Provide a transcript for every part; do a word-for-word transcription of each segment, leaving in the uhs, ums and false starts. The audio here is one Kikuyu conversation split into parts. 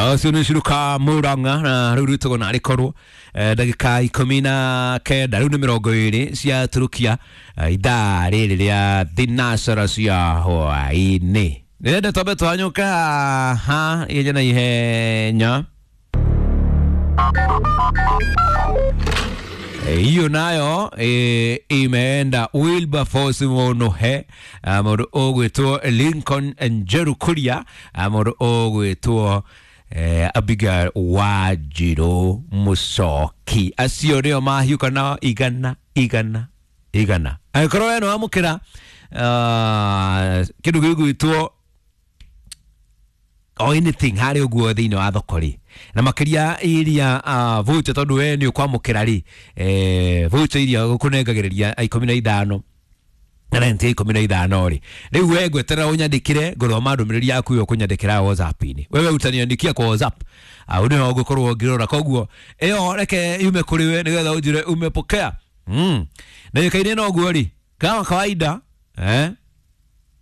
Ũcio nĩ Ciruka Murang'a na rĩu rwĩtagwo narĩ korwo ndagĩka ikũmi na kenda rĩu nĩ mĩrongo ĩrĩ cia Turukia, ithaa rĩrĩ rĩa thinacara cia hwaĩ-inĩ. Nĩrenda twambe twanyũka haha ihenya na ihenya. Hiyo nayo e, imeenda Wilberforce Munuhe, mũndũ ũgwĩtwo Lincoln Njeru Kuria, mũndũ ũgwĩtwo eh, Abigail Wanjirũ Mũcoki. Acio nĩo mahiũka na igana igana igana. Angĩkorwo we nĩwamũkĩra uh, kĩndũ gĩgwĩtwo o anything harĩ ũguo thĩinĩ wa thoko rĩ, na makĩria iria uh, voucher, tondũ we nĩ ũkwamũkĩra rĩ, eh, voucher iria gũkũnengagĩrĩria ikũmi na ithano na rent ya ikũmi na ithano rĩ, rĩu we ngweterera ũnyandĩkĩre, ngũthoma ndũmĩrĩri yaku ĩyo ũkũnyandĩkĩra WhatsApp-inĩ. Wewe utaniandikia kwa WhatsApp au nĩho ngũkorwo ngĩrora, koguo ĩyo reke yume kũrĩ we nĩgetha ũnjĩre umepokea. Mm. Na yũkaine na ũguo rĩ, kama kawaida eh,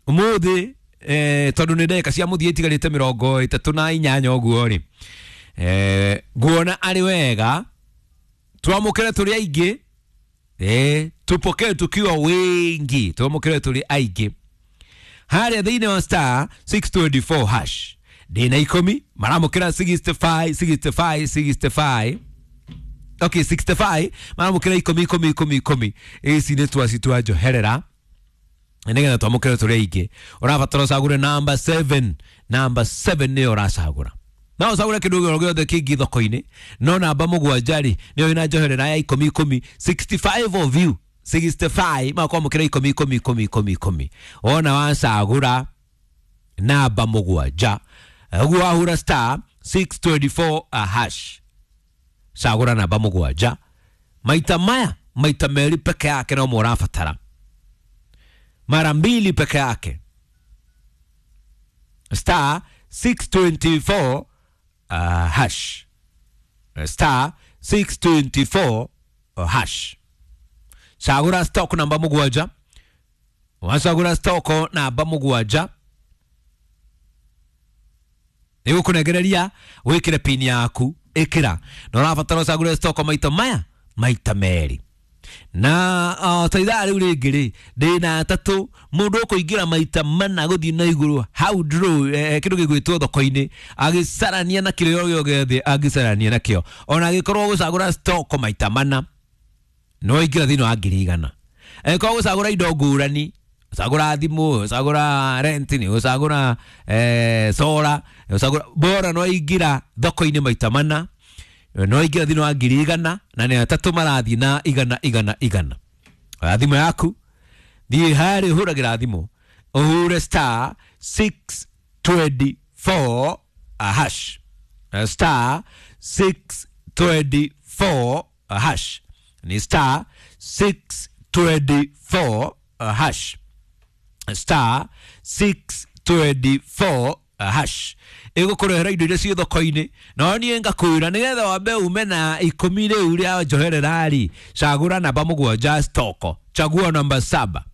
ũmũthĩ eh, tondũ nĩ ndagĩka cia mũthia itigarĩte mĩrongo ĩtatũ na inyanya ũguo rĩ, eh, nguona arĩ wega twamũkĩre tũrĩ aingĩ, eh, tupokee tukiwa wengi, twamũkĩre tũrĩ aingĩ harĩa thĩinĩ wa star six twenty four hash ndĩna ikũmi maramũkĩra sixty five sixty five sixty five, okay, sixty five maramũkĩra ikũmi ikũmi ikũmi ikũmi. Ici nĩ twaci twa njoherera nĩgetha twamũkĩre tũrĩ aingĩ. Ũrabatara ũcagũre number seven, number seven nĩyo ũracagũra. No ũcagũre kĩndũ o gĩothe kĩngĩ thoko-inĩ, no namba mũgwanja rĩ nĩyo ĩna njoherera ya ikũmi ikũmi, sixty five of you, sixty five makwamũkĩra ikũmi ikũmi ikũmi ikũmi ikũmi. Wona wacagũra namba mũgwanja, ũguo wahũra star six twenty four hash, cagũra namba mũgwanja maita maya maita merĩ peke yake no mũrabatara, mara mbili peke yake, star six twenty four uh, hash, star six twenty four uh, hash. Cagũra stock namba mũgwanja, wacagũra stock namba mũgwanja nĩgũkũnengereria wĩkĩre pin yaku, ĩkĩra na ũrabatara ũcagũre stock maita maya maita merĩ. Na uh, ta ithaa rĩu rĩngĩ rĩ ndĩna atatũ mũndũ ũkũingĩra maita mana gũthiĩ na igũrũ hau draw, eh, kĩndũ gĩgwĩtwo thoko-inĩ agĩcarania na kĩrĩa o gĩothe angĩcarania nakĩo, ona angĩkorwo gũcagũra stock maita mana no ingĩra thĩinĩ wa ngiri igana. Angĩkorwo gũcagũra indo ngũrani, ũcagũra thimũ, ũcagũra rent, ũcagũra eh, solar, ũcagũra bora, no ingĩra thoko-inĩ maita mana no ingĩra thĩinĩ wa ngiri igana, na nĩ atatũ marathiĩ na igana igana igana. Oya thimũ yaku, thiĩ harĩa ũhũragĩra thimũ, ũhũre star six twenty four hash, star six twenty four hash, ni star six twenty four hash, star six twenty four hash. Ĩgũkũrehera indo iria ciĩ thoko-inĩ, no niĩ ngakwĩra nĩgetha wambe ume na ikũmi rĩu rĩa njoherera rĩ, cagũra namba mũgwanja stoko, chagua namba saba,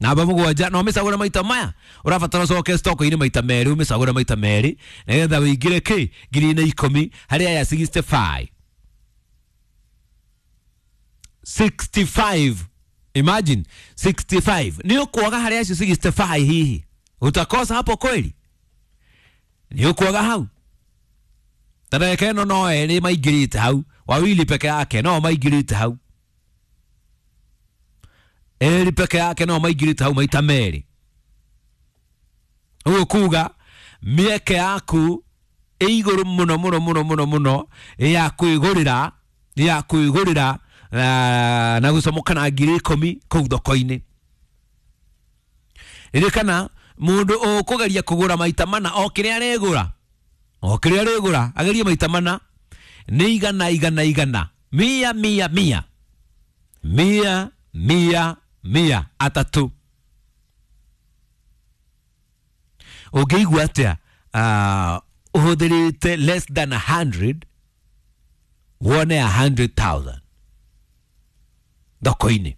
namba mũgwanja, na ũmĩcagũre maita maya ũrabatara ũcoke stoko-inĩ maita merĩ, ũmĩcagũre maita merĩ nĩgetha ũingĩre kĩ ngiri na ikũmi harĩ aya sixty five, sixty five, imagine sixty five. Nĩ ũkwaga harĩ acio sixty five, hihi utakosa hapo kweli? Nĩ ũkwaga hau? Ta ndagĩka ĩno no erĩ maingĩrĩte hau, wawili peke yake no maingĩrĩte hau, erĩ peke yake no maingĩrĩte hau maita merĩ. Ũguo kuga mĩeke yaku ĩ igũrũ mũno mũno mũno mũno mũno ya kwĩgũrĩra, ya kwĩgũrĩra na, na gũcomoka na ngiri ikũmi kũu thoko-inĩ. Ririkana mũndũ ũkũgeria kũgũra maita mana o kĩrĩa arĩgũra, o kĩrĩa arĩgũra agerie maita mana nĩ igana igana igana, mia mia mia mia mia mia atatũ. Ũngĩigua atĩa uh, ũhũthĩrĩte less than a hundred wone a hundred thousand thoko-inĩ?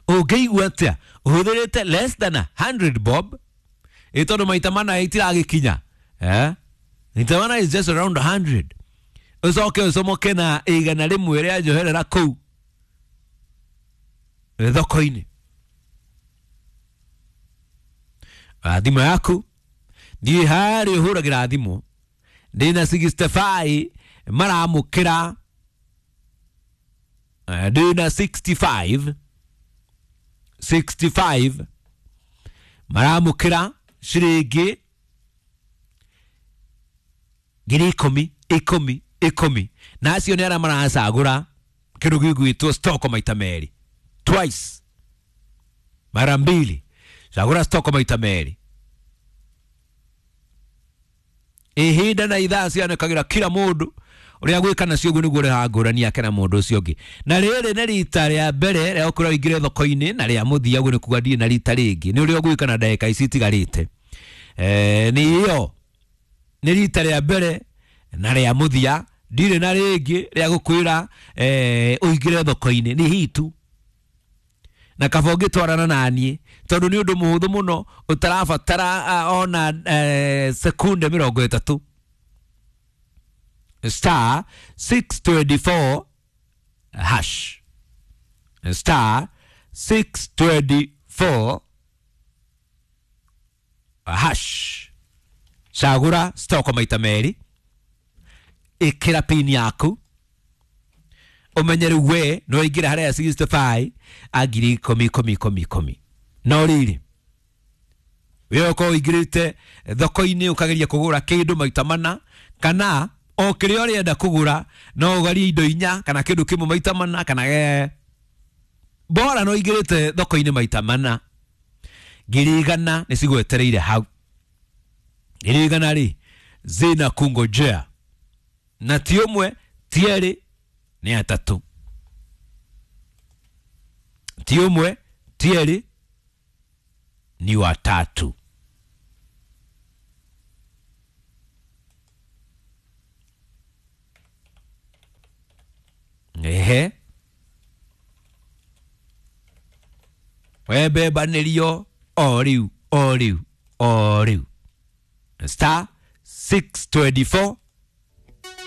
Ũngĩigua atĩa ũhũthĩrĩte less than a hundred bob, ĩ tondũ maita mana itiragĩkinya Eh, rita mana is just around a hundred. Ucoke ucomoke na igana rĩmwe rĩa njoherera kũu thoko-inĩ. Thimũ yaku thiĩ harĩa ũhũragĩra thimũ, ndĩna sixty-five maramũkĩra, ndĩna sixty-five sixty-five maramũkĩra ciringi ngiri ikũmi ikũmi ikũmi, na acio nĩ arĩa maracagũra kĩndũ gĩgwĩtwo stock maita merĩ, twice, mara mbili, cagũra stock maita merĩ. Ihinda na ithaa cianĩkagĩra kila mũndũ ũrĩa gwĩka nacio ũguo nĩguo ũrehaga ngũrani yake na mũndũ ũcio ũngĩ. Na rĩrĩ nĩ rita rĩa mbere rĩa gũkorwo ũingĩre thoko-inĩ, na rĩa mũthia ũguo nĩ kuga ndirĩ na rita rĩngĩ, nĩ ũrĩa ũgwĩka na ndagĩka ici itigarĩte. Eh, nĩ ĩyo nĩ rita rĩa mbere na rĩa mũthia, ndirĩ na rĩngĩ rĩa gũkwĩra eh, ũingĩre thoko-inĩ, nĩ hitu na kaba ũngĩtwarana naniĩ tondũ nĩ ũndũ mũhũthũ mũno ũtarabatara ona eh, sekunde mĩrongo ĩtatũ. Star six twenty-four hash, star six twenty-four hash, cagũra stock maita merĩ, ĩkĩra pin yaku, ũmenye rĩu we no ũingĩre harĩa sixty-five a ngiri ikũmi ikũmi ikũmi ikũmi. No rĩrĩ, we ũkorwo ũingĩrĩte thoko-inĩ ũkageria kũgũra kĩndũ maita mana, kana o kĩrĩa ũrenda kũgũra no ũgarie indo inya kana kĩndũ kĩmwe maita mana, kana eh, bora no ũingĩrĩte thoko-inĩ maita mana, ngiri igana nĩ cigwetereire hau. Ngiri igana rĩ zina kungojea, na ti ũmwe ti erĩ nĩ atatũ, ti ũmwe ti erĩ ni watatu. Ehe, wembebanĩrio o rĩu o rĩu o rĩu. Star six twenty-four